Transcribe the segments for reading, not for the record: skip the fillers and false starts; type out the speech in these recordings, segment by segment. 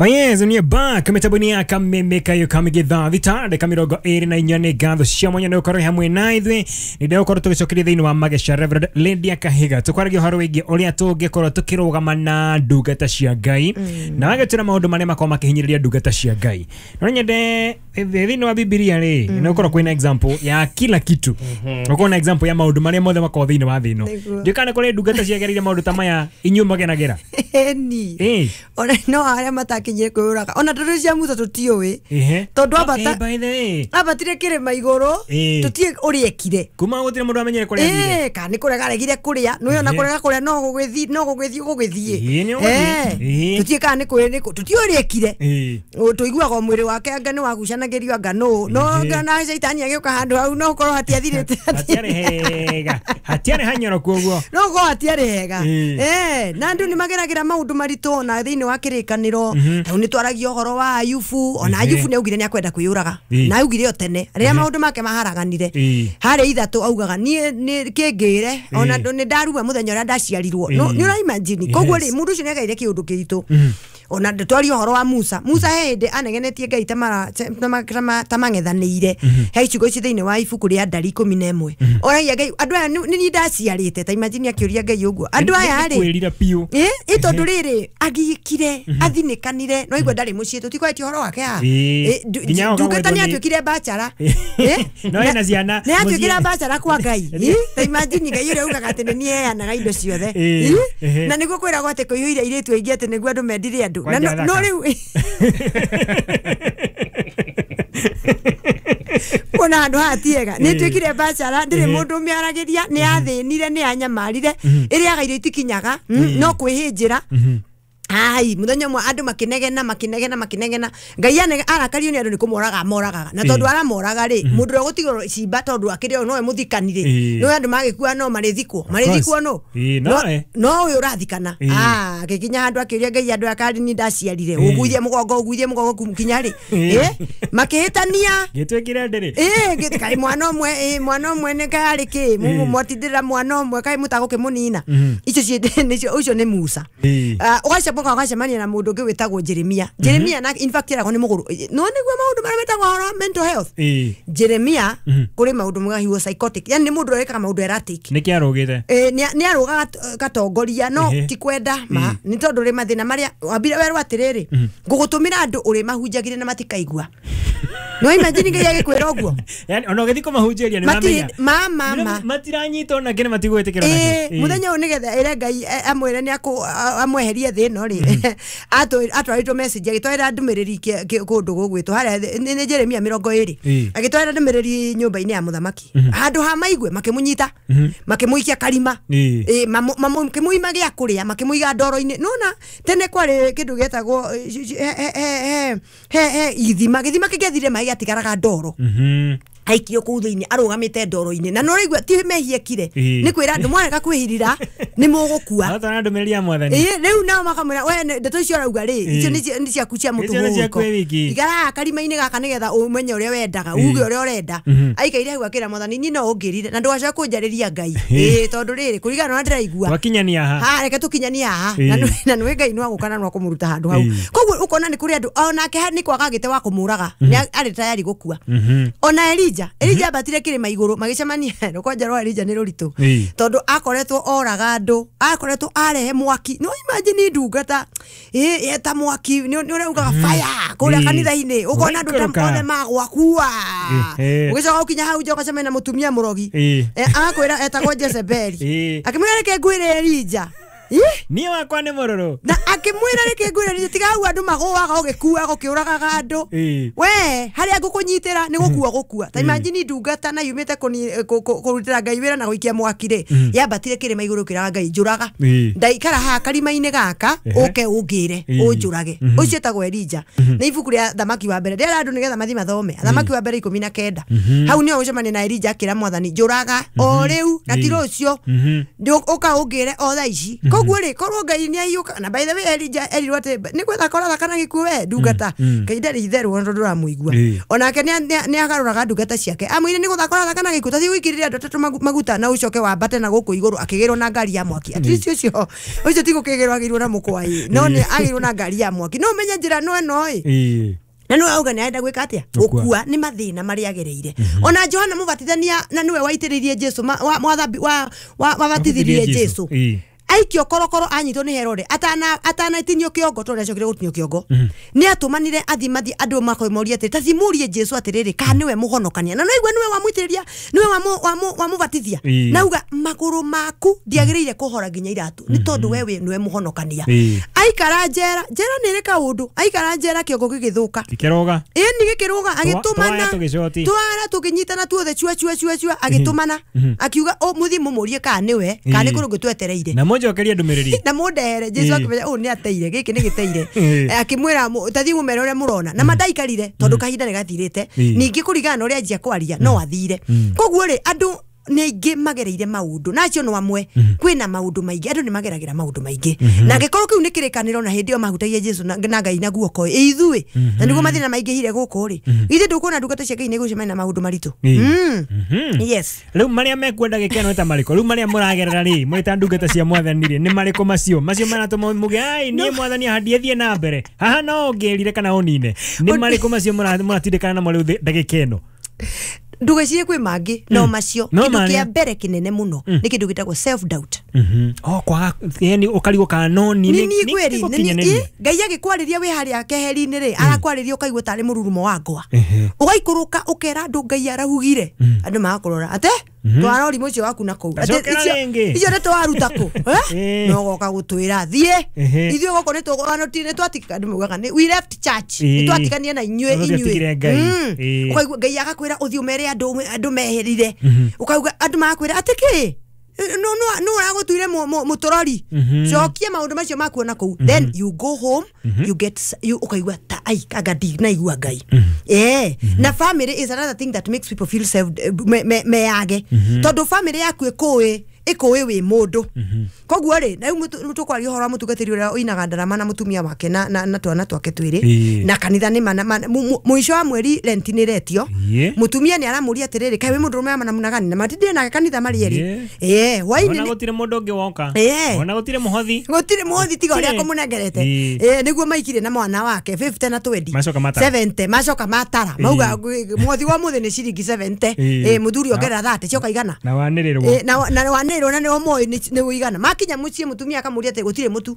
Yes, ni back mitambo-inĩ ya kameme kayo kamĩgĩthaa thita ndagĩka 24 nĩ ngatho cia mwanya nĩ gũkorwo hamwe na ithuĩ. Nĩ ndĩgũkorwo tũgĩcokeria thĩinĩ wa Mageca Reverend Lydia Kahiga, tũkwaragia ũhoro wĩgiĩ ũrĩa tũngĩkorwo tũkĩrũgama na ndungata cia Ngai na wagĩtwĩra maũndũ marĩa makoragwo makĩhinyĩrĩria ndungata cia Ngai. No nyende thĩinĩ wa Bibilia rĩ, nĩ gũkorwo kwĩna example ya kila kitu, gũkorwo na example ya maũndũ marĩa mothe makoragwo thĩinĩ wa thĩ ĩno. Ndiũĩ kana kũrĩ ndungata ciagereire maũndũ ta maya inyuĩ magenagĩra. Ĩni ona no arĩa matakinyire kwĩyũraga ona tondũ cia Musa tũtiũĩ tondũ ambata ambatire kĩrĩma igũrũ tũtiĩ ũrĩa ekire kuma gũtirĩ mũndũ amenyere kũrĩa athire, kana nĩ kũrega aregire kũrĩa nĩwe ona kũrega kũrĩa no gũgĩthiĩ no gũgĩthiĩ gũgĩthiĩ tũtiĩ kana nĩ kũrĩ tũtiĩ ũrĩa ekire, tũiguaga mwĩrĩ wake anga nĩ wagucanagĩrio anga nũ no na caitani agĩũka handũ hau no ũkorwo hatiathirĩte, hatiarĩ hega, hatiarĩ hanyoroku ũguo, no ũkorwo hatiarĩ hega. Na andũ nĩ mageragĩra maũndũ maritũ ona thĩinĩ wa kĩrĩkanĩro. Hau nĩ twaragia ũhoro wa Ayubu, ona Ayubu nĩ augire nĩ akwenda kwĩyũraga na augire o tene rĩrĩa maũndũ make maharaganire harĩ ithatũ augaga niĩ nĩ kĩngĩre ona nĩ ndarua mũthenya ũrĩa ndaciarirwo, nĩ ũra imagine. Koguo rĩ mũndũ ũcio nĩ agereire kĩũndũ kĩritũ. Ona twaria ũhoro wa Musa, Musa he hĩndĩ anegenetie Ngai ta mang'ethanĩire he icigo ici thĩinĩ wa ibuku rĩa Ndari 11 oragia Ngai andũ aya nĩ niĩ ndaciarĩte, ta imagine akĩũria Ngai ũguo andũ aya rĩ ĩ tondũ rĩrĩ agiĩkire athinĩkanire no igua ndarĩ mũciĩ tũtikwaĩtie ũhoro wake haha, ndungata nĩ atuĩkire bachara, nĩ atuĩkire bachara kwa Ngai, ta imagine Ngai ũrĩa ugaga atĩ nĩ niĩ heanaga indo ciothe na nĩguo kwĩragwo atĩ kũiyũire airĩtu aingĩ atĩ nĩguo andũ mendire andũ no rĩu kuona handũ haha ti hega nĩ tuĩkire bachara ndĩrĩ mũndũ ũmĩaragĩria nĩ athĩnire nĩ anyamarire ĩrĩaga irio itikinyaga no kwĩhĩnjĩra. Ai muthenya mwe andu makinegena makinegena makinegena Ngai arakario ni andu ni kumoraga moragaga na tondu aramoraga ri mundu uria gutigwo cimba tondu akiri nowe muthikanire no andu magikua no marithikwo marithikwo no no uyu urathikana akikinya handu akiuria Ngai andu akari ni ndaciarire uguithie mugongo kinya ri makihitania gitwikire ndiri kai mwana umwe mwana umwe ni kari ki mwatindira mwana umwe kai mutagukimunina icio nicio ucio ni Musa. Ugacoka ugacemania na mundu ungi witagwo Jeremia. Jeremia na in fact eragwo ni muguru no niguo maundu maria metagwo horo mental health. Jeremia kuri maundu mwega he was psychotic, yani ni mundu urekaga maundu erratic. Niki arugite ni arugaga gatongoria no ti kwenda ma ni tondu ri mathina maria wambire werwo atiriri ngugutumira andu uri mahunjagire na matikaigua. No imagine Ngai agikwira uguo, yani ona ugithi kumahunjĩria ni mamenya ma matiranyita ona kene matigwĩtĩkĩra nake muthenya uyu nigetha ire Ngai amwĩre ni amweherie thĩ ĩno rĩ atwarĩtwo message agĩtwarĩra ndũmĩrĩri kũndũ gũgwĩtwo harĩa nĩ Jeremia 20 agĩtwarĩra ndũmĩrĩri nyũmba-inĩ ya mũthamaki handũ ha maigue makĩmũnyita makĩmũikia karima makĩmũima gĩa kũrĩa makĩmũiga ndoro-inĩ. Nona tene kwarĩ kĩndũ gĩetagwo he ithima gĩthima kĩngĩathire maĩ gĩatigaraga ndoro aikio kuu thiini arugamite ndoro-ini na no raigua ti mehia kire ni kwira andu mwarega kwihirira ni mugukua atana ndumiriri ya mwathani riu nao makamwira we ndeto icio arauga ri icio ni ciaku cia mutuhuko igara karima-ini gaka nigetha umenye uria wendaga uge uria urenda aikaire hau akira mwathani ni no ungirire na ndwacoka kunjariria Ngai tondu riri kuringana na ndiraigua wakinyania haha reke tukinyania haha na nwe Ngai no aguka na no akumuruta handu hau koguo ukona ni kuri andu onake ni kwaga gite wa kumuraga ni ari tayari gukua ona Elija ambatire kirima iguru magicemania rukwanja rwa Elija ni ruritu tondu akoretwo oraga andu akoretwo arehe mwaki no imagine ndungata eta mwaki ni uraugaga fire kuria kanitha-ini ukona andu ta othe magwakua ugicoka ukinya hau nja ugacemania na mutumia murogi agakwira etagwo Jezebeli akimwira reke ngwire Elija ni wakwa ni mururu na akimwira reke ngwire Elija tiga hau andu magũaga ũgĩkuaga ũkĩũragaga andũ we harĩa ngũkũnyitĩra nĩ gũkua gũkua ta imagine ndungata na yumĩte kũrutĩra Ngai wĩra na gũikia mwaki rĩ yambatire kĩrĩma igũrũ kĩraga Ngai njũraga ndaikara haha karima-inĩ gaka ũke ũngĩre ũnjũrage ũcio etagwo Elija nĩ ibuku rĩa Thamaki wa mbere rĩera andũ nĩgetha mathiĩ mathome Thamaki wa mbere 19 hau nĩho ũcemania na Elija akĩra mwathani njũraga o rĩu na ti rũciũ ũka ũngĩre o thaa ici. Koguo rĩ korwo Ngai nĩ aiyũka na by the way Elijah erirwo atĩ nĩ gwetha koratha kana gĩkuũ we ndungata Ngai ndarĩ itherũ ona tondũ ndũramũigua. Onake nĩ agarũraga ndungata ciake amwĩre nĩ gũthaka ũrathaka na gĩkuũ tathiĩ ũikĩrĩre andũ atatũ maguta na ũcoke wambate na gũkũ igũrũ akĩgĩrwo na ngari ya mwaki. At least ũcio ũcio ti gũkĩgĩrwo agĩirwo na mũkwa ĩ no nĩ agĩirwo na ngari ya mwaki. No ũmenye njĩra no ĩno ĩ na nĩwe auga nĩ arenda gwĩka atĩa gũkua nĩ mathĩna marĩa agereire. Ona Johana Mũbatithania na nĩwe waitĩrĩirie Jesu wabatithirie Jesu aikio korokoro anyitwo nĩ Herode atanatinio kĩongo tondũ nĩacokire gũtinio kĩongo nĩ atũmanire athimathi andũ makoimoria atĩrĩ tathimurie Jesu atĩrĩrĩ kana nĩwe mũhonokania na noigua nĩwe wamũitĩrĩria nĩwe wamũbatithia na uga magũrũ maku ndiagĩrĩire kũhora nginya iratũ nĩ tondũ we nĩwe mũhonokania. Aikara njera njera nĩ ĩrĩ kaũndũ aikara njera kĩongo gĩgĩthũka gĩkĩrũga ĩni gĩkĩrũga agĩtũmana twara tũkĩnyitana tuothe cua cua cua cua agĩtũmana akiuga mũthiĩ mũmũrie kana nĩwe kana nĩ kũrĩ ũngĩ twetereire njokerie ndũmĩrĩri na mũndehere. Jesu akĩmenya ũũ nĩ ateire gĩkĩ nĩ gĩteire akĩmwĩra tathiĩ mũmere ũrĩa mũrona na mandaikarire tondũ kahinda nĩ gathirĩte ningĩ kũringana na ũrĩa anjia kwaria no athire. Koguo rĩ andũ nĩ aingĩ magereire maũndũ na acio no amwe kwĩna maũndũ maingĩ andũ nĩ mageragĩra maũndũ maingĩ na angĩkorwo kĩu nĩ kĩrĩkanĩro na hĩndĩ ĩyo mahutagia Jesu na Ngai na guoko ĩ ithuĩ na nĩguo mathĩna maingĩhire gũkũ rĩ ithuĩ ndũkuona ndungata cia Ngai nĩ gũcemania na maũndũ maritũ. Yes. Rĩu marĩa mekwenda gĩkeno ta marĩkũ rĩu marĩa mũragerera rĩ mwĩ ta ndungata cia mwathani rĩ nĩ marĩkũ macio macio maratũma muge ai niĩ mwathani handie thiĩ na mbere haha no ũngĩrire kana ũnine nĩ marĩkũ macio mũratindĩkana namo rĩu ndagĩka ĩno? Ndugecirie kwĩ mangĩ no macio kĩndũ kĩa mbere kĩnene mũno nĩ kĩndũ gĩtagwo self doubt. Oh kwa yani ũkarigwo kana no ni nĩ kweri Ngai agĩkwarĩria wĩ harĩa keheri-inĩ rĩ arakwarĩria ũkaigua tarĩ mũrurumo wa ngwa ũgaikũrũka ũkera andũ Ngai arahugire andũ magakũrora ate twara ũrimũ ũcio waku na kũu icio nĩ twaruta kũ no goka gũtwĩra thiĩ ithuĩ gũkũ nĩ twatika andũ maugaga nĩ we left church nĩ twatigania na inyuĩ inyuĩ ũkaigua Ngai agakwĩra ũthiĩ ũmere andũ meherire ũkauga andũ magakwĩra atĩ kĩ no ũragũtuire mũtũrori cokia maũndũ macio makuona kũu then you go home you get you ũkaigua ta ai anga ndinaigua Ngai. Na family is another thing that makes people feel self meyage tondũ family yaku ĩkũĩ ĩkũĩ wĩ mũndũ. Koguo rĩ na rĩu tũkwaria ũhoro wa mũtungatĩri ũrĩa ũinaga ndarama na mũtumia wake na twana twake twĩrĩ na kanitha nĩ mũico wa mweri rent nĩ retio mũtumia nĩ aramũria atĩrĩrĩ kaĩ wĩ mũndũrũme wa namna gani na matindire nake kanitha marĩ erĩ hwainĩ ona gũtirĩ mũndũ ũngĩ woka ona gũtirĩ mũhothi gũtirĩ mũhothi tiga ũrĩa akũmũnengerete nĩguo maikire na mwana wake 50 na 20 70 macoka matara mauga mũhothi wa mũthĩ nĩ ciringi 70 mũthuri ongerera 30 cioka igana na wanĩrĩrwo na wanĩrĩrwo na nĩ ũmoĩ nĩ ũigana makinya mũciĩ mũtumia akamũria atĩ gũtirĩ mũtu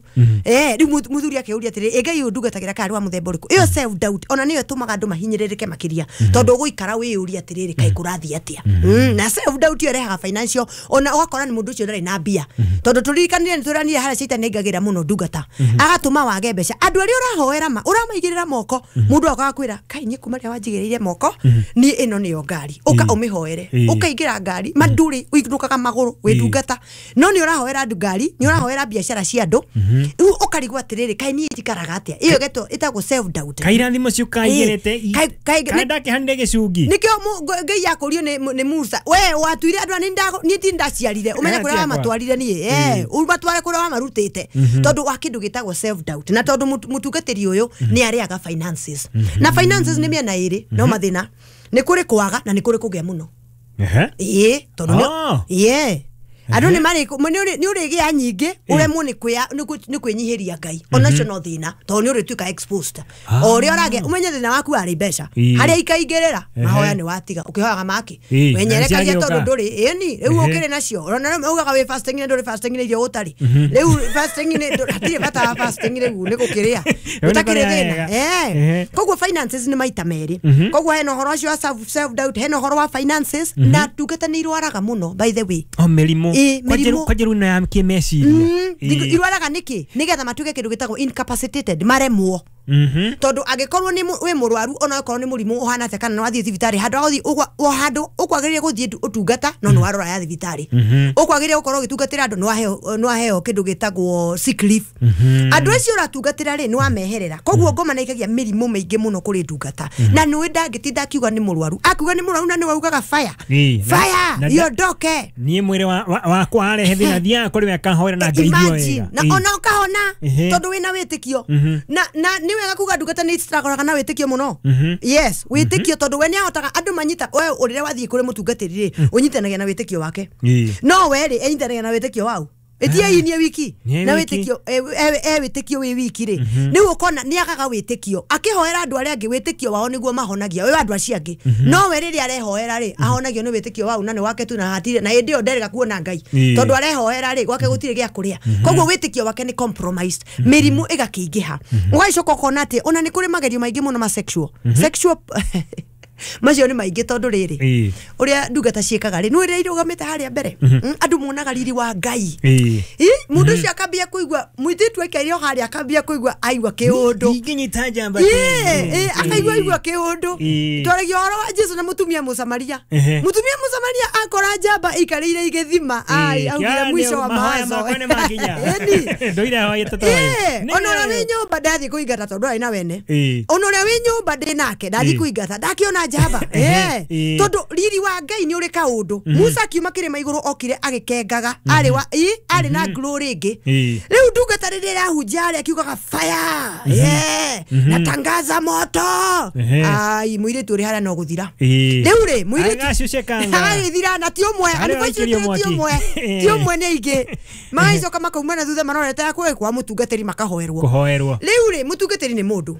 rĩu mũthuri akĩũria atĩrĩ ĩ Ngai ũyũ ndungatagĩra karĩ wa mũthemba ũrĩkũ ĩyo self doubt ona nĩyo ĩtũmaga andũ mahinyĩrĩrĩke makĩria tondũ ũgũikara wĩyũria atĩrĩrĩ kaĩ kũrathiĩ atĩa na self doubt ĩyo ĩrehaga financial ona ũgakora nĩ mũndũ ũcio ndarĩ na mbia tondũ tũririkanire nĩ tũranire harĩa caitani aingagĩra mũno ndungata agatũma wage mbeca andũ arĩa ũrahoera ma ũramaigĩrĩra moko mũndũ agoka akwĩra kai niĩ kuma rĩrĩa wanjigĩrĩire moko niĩ ĩno nĩyo ngari ũka ũmĩhoere ũkaingĩra ngari ma ndũrĩ ũinũkaga magũrũ wĩ ndungata no nĩ ũrahoera andũ ngari nĩ ũrahoera biacara cia andũ rĩu ũkarigwo atĩrĩrĩ kaĩ niĩ njikaraga atĩa ĩyo ĩtagwo self doubt kairathimo cio kaigĩrĩte kaĩ ndakĩhanire gĩcungi nĩkĩo Ngai akũrio nĩ Musa we watuire andũ niĩ ti ndaciarire ũmenye kũrĩa wamatwarire niĩ ũmatware kũrĩa wamarutĩte tondũ wa kĩndũ gĩtagwo self doubt na tondũ mũtungatĩri ũyũ nĩ arĩaga finances na finances nĩ mĩena ĩrĩ no mathĩna nĩ kũrĩ kwaga na nĩ kũrĩ kũgĩa mũno ĩĩ tondũ ĩĩ andũ nĩ marĩ nĩ ũrĩgĩa nyingĩ ũremwo nĩ kwĩnyihĩria Ngai onacio no thĩna tondũ nĩ ũrĩtuĩka exposed o ũrĩa ũragĩa ũmenye thĩna waku warĩ mbeca harĩa ikaingĩrĩra mahoya nĩ watiga ũkĩhoyaga maki wenyerekagia tondũ ndũrĩ ĩni rĩu ũkĩrĩ nacio ona ugaga wĩ fasting na ndũrĩ fasting nĩ irio ũtarĩ rĩu fasting nĩ hatirĩ bata wa fasting rĩu nĩ gũkĩrĩa ũtakĩrĩ thĩna koguo finances nĩ maita merĩ koguo hena ũhoro ũcio wa self doubt hena ũhoro wa finances na ndungata nĩ irwaraga mũno by the way mĩrimũ kwanjĩrũ ĩno ya kĩmeciria irwaraga nĩkĩ nĩgetha matuĩke kĩndũ gĩtagwo incapacitated maremwo Tondu angikorwo ni wi murwaru ona akorwo ni murimu uhana atia kana no athie thibitari handu agothi handu ukwagirire guthie utungata no no warora ya thibitari ukwagirire gukorwo ugitungatira andu no aheo kindu gitagwo sick leave. Andu acio uratungatira ri ni wameherera koguo ngoma na ikagia mirimu miingi muno kuri ndungata na ni ndangitinda akiuga ni murwaru akiuga ni murwaru na ni waugaga fire fire yondoke ni mwiri wakwa arehe thina thia kuri we akahoera na ngeithio wega na ona ukahona tondu wina witikio na ni wega kuga ndungata ni stragoraga na witikio muno. Yes, witikio tondu we ni ahotaga andu manyita we urire wathie kuri mutungatiri ri unyitanagia na witikio wake no we ri enyitanagia na witikio wau etie inie wiki na witikio e witikio wi wiki ri ni ukona ni agaga witikio akihoera andu aria angi witikio wao niguo mahonagia we andu acio angi no we riri arehoera ri ahonagio ni witikio wau na ni wake tu na hatire na hindi yo nderega kuona Ngai tondu arehoera ri gwake gutire gia kuria koguo witikio wake ni compromised mirimu igakiingiha ugacoka ukona ati ona ni kuri magerio maingi muno ma sexual macio ni maingi tondu riri uria ndungata ciikaga ri ni irugamite haria mbere andu monaga riri wa Ngai mundu ucio akambia kuigua muititu aikaire o haria akambia kuigua aigua kiundu inginyita njamba akaigua aigua kiundu twaragia uhoro wa Jesu na mutumia Musamaria mutumia Musamaria akora njamba ikarire igithima ai augire mwisho wa mawazo ndoira hoyete to ona uria wi nyumba ndathi kuingata tondu ari na wene ona uria wi nyumba ndi nake ndathi kuingata ndakiona njamba tondu riri wa Ngai ni uri kaundu Musa akiuma kirima iguru okire agikengaga ari wa ari na glory ingi riu ndungata riri irahunjia ari akiugaga fire natangaza moto ai muiritu uri haria no guthira riu ri muiritu agagithira na ti umwe ti umwe ni ingi magacoka makauma na thutha marorete ya kwa mutungatiri makahoerwo kuhoerwo riu ri mutungatiri ni mundu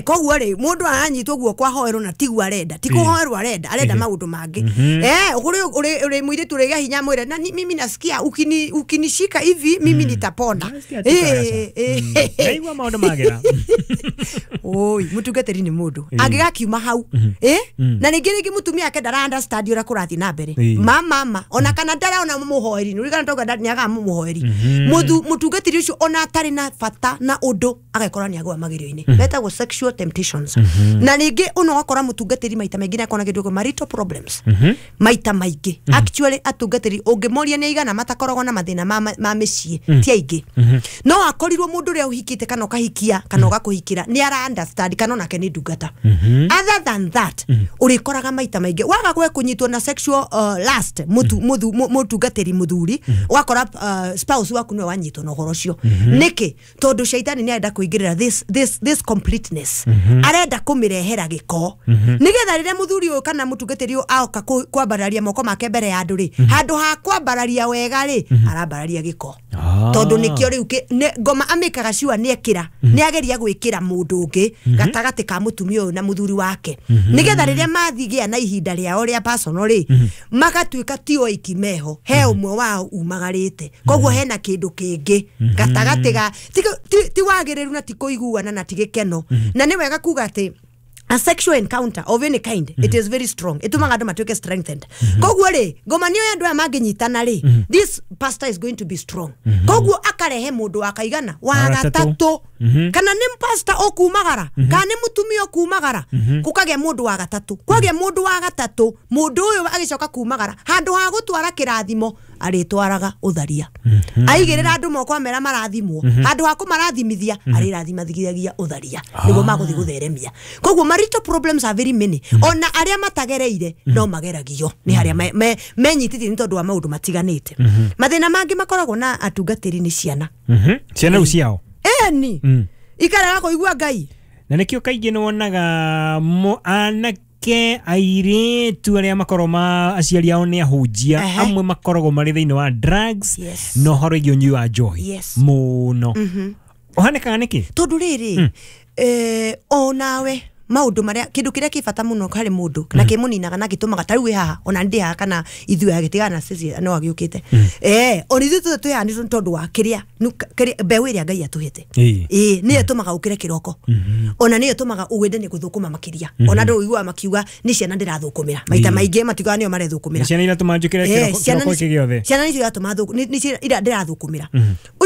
koguo ri mundu aranyitwo guo hoerwo na tiguo arenda ti kuhoerwo arenda arenda maundu mangi uri muiritu uri hinya mwire na mimi nasikia ukinishika hivi mimi nitapona ndaigua maundu magera oi mutungatiri ni mundu angigakiuma hau na ringi ringi mutumia ake ndara understand uria kurathi na mbere mama ona kana ndaraona muhoeri ni urigana toga ni aga muhoeri mutungatiri ucio ona atari na bata na undu agekora ni agwa magerio-ini betagwo sexual temptations. Na ringi uno wakora mutungatiri maita maingi na akona kindu marital problems maita maingi actually atungatiri ungimoria ni igana matakoragwo na mathina ma micii ti aingi no akorirwo mundu uria uhikite kana ukahikia kana ugakuhikira ni ara understand kana onake ni ndungata. Other than that urikoraga maita maingi waga gwe kunyitwo na sexual lust mutungatiri muthuri wakora spouse waku niwe wanyitwo na uhoro ucio niki tondu shaitani ni arenda kuingirira this completeness arenda kumirehera giko nigetha rire muthuri uyu kana mutungatiri uyu aoka kwambararia moko make mbere ya andu ri handu ha kwambararia wega ri arambararia giko tondu nikio riu ngoma amikaga ciwa ni ekira ni ageria gwikira mundu ungi gatagati ka mutumia uyu na muthuri wake nigetha rire mathigia na ihinda riao ria personal ri magatuika ti oiki meho he umwe wao umagarite koguo hena kindu kingi gatagati ga ti wagiriru na ti kuiguana na ti gikeno na ni wega kuga ati a sexual encounter of any kind it is very strong itumaga andu matuike strengthened koguo ri ngoma niyo andu aya manginyitana ri this pastor is going to be strong koguo akarehe mundu akaigana wa gatatu kana ni pastor okumagara kana ni mutumia okumagara kukagia mundu wa gatatu kwagia mundu wa gatatu mundu uyu agicoka kumagara handu ha gutwara kirathimo aritwaraga utharia aigirira andu moko amera marathimwo handu ha kumarathimithia arirathimathigia utharia niguo maguthi gutheremia koguo marital problems are very many ona aria matagereire no mageragio ni haria menyitithie ni tondu wa maundu matiganite mathina mangi makoragwo na atungatiri ni ciana ciana ciao eni ikaraga kuigua Ngai na nikio kaingĩ nĩwonaga anake airĩtu arĩa makoragwo ma aciari ao nĩ ahunjia amwe makoragwo marĩ thĩinĩ wa drugs na ũhoro wĩgiĩ ũnyui wa njohi mũno ũhanĩkaga nĩkĩ tondu rĩrĩ onawe maundu maria kindu kiria ki bata muno hari mundu na kimuninaga na gitumaga ta riu wi haha ona ndi haha kana ithuĩ agitigana cici no agiukite ona ithuĩ twĩ haha ni tondu wa kiria mbeũ ĩrĩa Ngai atuhete nĩyo ĩtũmaga ũkĩre kĩroko ona nĩyo ĩtũmaga ũwende nĩ gũthũkũma makĩria ona andũ ũiguaga makiuga nĩ ciana ndĩrathũkũmĩra maita maingĩ matiugaga nĩo marethũkũmĩra ciana iratũma njũkĩre kĩroko gĩothe ciana nĩcio iratũma nĩcio ndĩrathũkũmĩra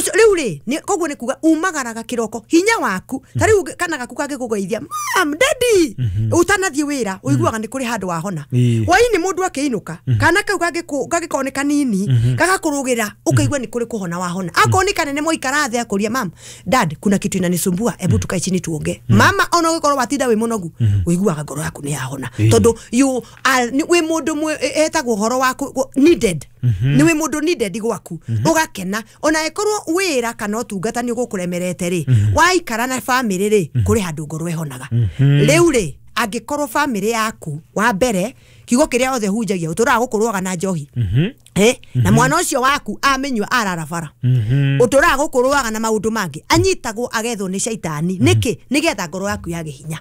Ucio riu ri koguo ni kuga umagaraga kiroko hinya waku ta riu kana gaku kangikugeithia mam daddy utanathie wira uiguaga ni kuri handu wahona waini mundu akiinuka kana kau gangĩkorwo nĩ kanini gagakurugira ukaigua ni kuri kuhona wahona akorwo ni kanene moikara thi akuria mam dad kuna kitu inanisumbua ebu tukae chini tuonge mama ona ugikorwo watinda wi munogu uiguaga ngoro yaku ni yahona tondu you are wi mundu etagwo horo waku needed ni wi mundu needed gwaku ugakena ona ekorwo wira kana utungata ni ugukuremerete ri waikara na family ri kuri handu ngoro ihonaga riu ri angikorwo family yaku wa mbere kiugo kiria othe hunjagia uturaga gukurwaga na njohi na mwana ucio waku amenywa arara bara uturaga gukurwaga na maundu mangi anyitagwo agethwo ni shaitani niki nigetha ngoro yaku yage hinya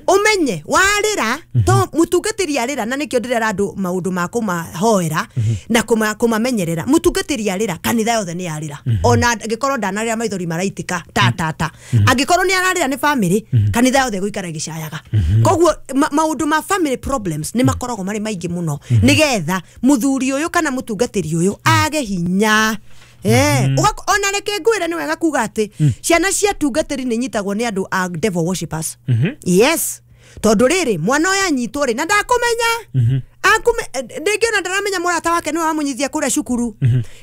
umenye warira to mutungatiri arira na nikio ndirera andu maundu ma kumahoera na kumamenyerera mutungatiri arira kanitha yothe ni arira ona angikorwo ndanarira maithori maraitika ta ta ta angikorwo ni ararira ni family kanitha yothe guikara gicayaga koguo maundu ma family problems ni makoragwo mari maingi muno nigetha muthuri uyu kana mutungatiri uyu age hinya ona reke ngwire ni wega kuga ati ciana cia tungatiri ni nyitagwo ni andu a devil worshippers yes tondu riri mwana uyu anyitwo ri na ndakumenya akume ndingiona ndaramenya murata wake niwe wamunyithia kuria cukuru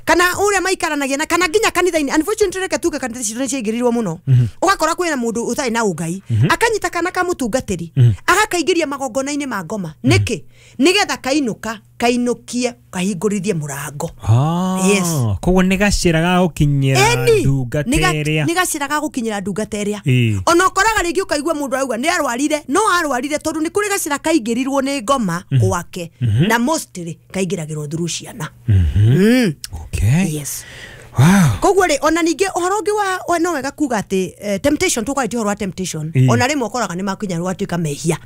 kana uria maikaranagia na kana nginya kanitha-ini unfortunately reke tuge kanitha citũ nĩciaingĩrĩirwo mũno ũgakora kwĩna mũndũ ũtarĩ na ũngai akanyita kana ka mũtungatĩri agakaingĩria magongona-inĩ ma ngoma nĩkĩ nĩgetha kainũka kainukie kahingũrithie mũrango yes koguo nĩ gacĩra ga gũkinyĩra ndungata ĩrĩa nĩ gacĩra ga gũkinyĩra ndungata ĩrĩa ona ũkoraga rĩngĩ ũkaigua mũndũ arauga nĩ arwarire no arwarire tondũ nĩ kũrĩ gacĩra kaingĩrirwo nĩ ngoma gwake na mostly kaingĩragĩrwo through ciana okay yes wow koguo rĩ ona ningĩ ũhoro ũngĩ wa no wega kuga atĩ temptation tũkwarĩtie ũhoro wa temptation ona rĩmwe ũkoraga nĩ makinya rwatuĩka mehia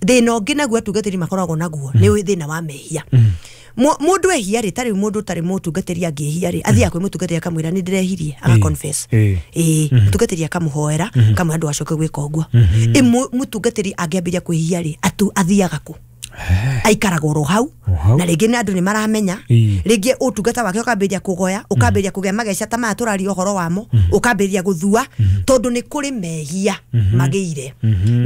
thina ũngĩ naguo atungatĩri makoragwo naguo nĩ thĩna wa mehia mũndũ ehia rĩ tarĩu mũndũ ũtarĩ mũtungatĩri angĩhia rĩ athiaga kwĩ mũtungatĩri akamwĩra nĩ ndĩrehirie aga confess mũtungatĩri akamũhoera akamwĩra ndũgacoke gwĩka ũguo mũtungatĩri angĩambĩrĩria kwĩhia rĩ athiaga kũ aikaraga oro hau na rĩngĩ nĩ andũ nĩ maramenya rĩngĩ ũtungata wake ũkambĩrĩria kũgoya ũkambĩrĩria kũgĩa mageca ta maya tũraria ũhoro wamo ũkambĩrĩria gũthua tondũ nĩ kũrĩ mehia magĩire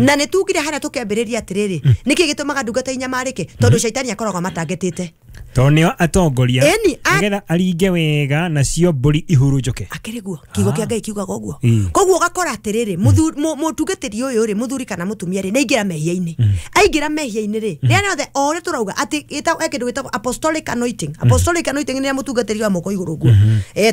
na nĩ tugire harĩa tũkĩambĩrĩria atĩrĩrĩ nĩkĩ gĩtũmaga ndungata inyamarĩke tondũ caitani akoragwo amatangetĩte tondũ nĩo atongoria nĩgetha aringe wega nacio mbũri ihurunjũke akĩrĩ guo kiugo kĩa Ngai kiugaga ũguo koguo ũgakora atĩrĩrĩ mũtungatĩri ũyũ rĩ mũthuri kana mũtumia rĩ nĩaingĩra mehia-inĩ aingĩra mehia-inĩ rĩ rĩrĩa rĩothe o ũrĩa tũrauga atĩ kĩndũ gĩtagwo apostolic anointing apostolic anointing nĩ mũtungatĩri wa moko igũrũ ũguo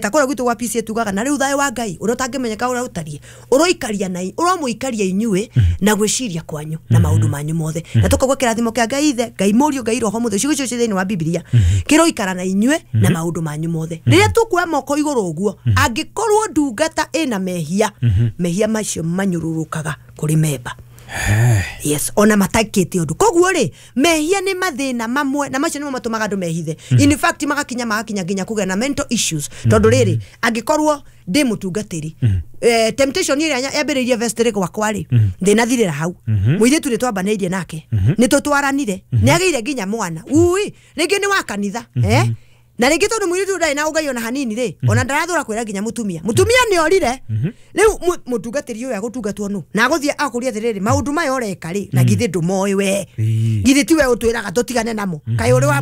ta kũrĩa gwitũ gwa PCA tugaga na rĩu thayũ wa Ngai ũrĩa ũtangĩmenyeka ũrĩa ũtariĩ ũroikaria na ũramũikaria inyuĩ na gwĩciria kwanyu na maũndũ manyu mothe na tũkaigua kĩrathimo kĩa Ngai ithe Ngai mũriũ Ngai roho mũtheru ciugo icio ciĩ thĩinĩ wa Bibilia kĩroikara na inyuĩ na maũndũ manyu mothe rĩrĩa tũkuoya moko igũrũ ũguo angĩkorwo ndungata ĩna mehia mehia macio manyũrũrũkaga kũrĩ memba yes ona matakĩte ũndũ koguo rĩ mehia nĩ mathĩna mamwe na macio nĩmo matũmaga andũ mehithe in fact magakinya nginya kũgĩa na mental issues tondũ rĩrĩ angĩkorwo ndĩ mũtungatĩri temptation ĩrĩa yambĩrĩirie vestry gwakwa rĩ ndĩnathirĩra hau mũirĩtu nĩ twambanĩirie nake nĩ tũtwaranire nĩ agĩire nginya mwana ui rĩngĩ nĩ wa kanitha na rĩngĩ tondũ mũirĩtu ndarĩ na ũngai ona hanini rĩ ona ndarathũra kwĩra nginya mũtumia mũtumia nĩ orire rĩu mũtungatĩri ũyũ agũtungatwo nũ na agũthiĩ akũria atĩrĩrĩ maũndũ maya ũreka rĩ na githĩ ndũmoĩ we githĩ tiwe ũtwĩraga tũtigane namo kaĩ ũrĩ wa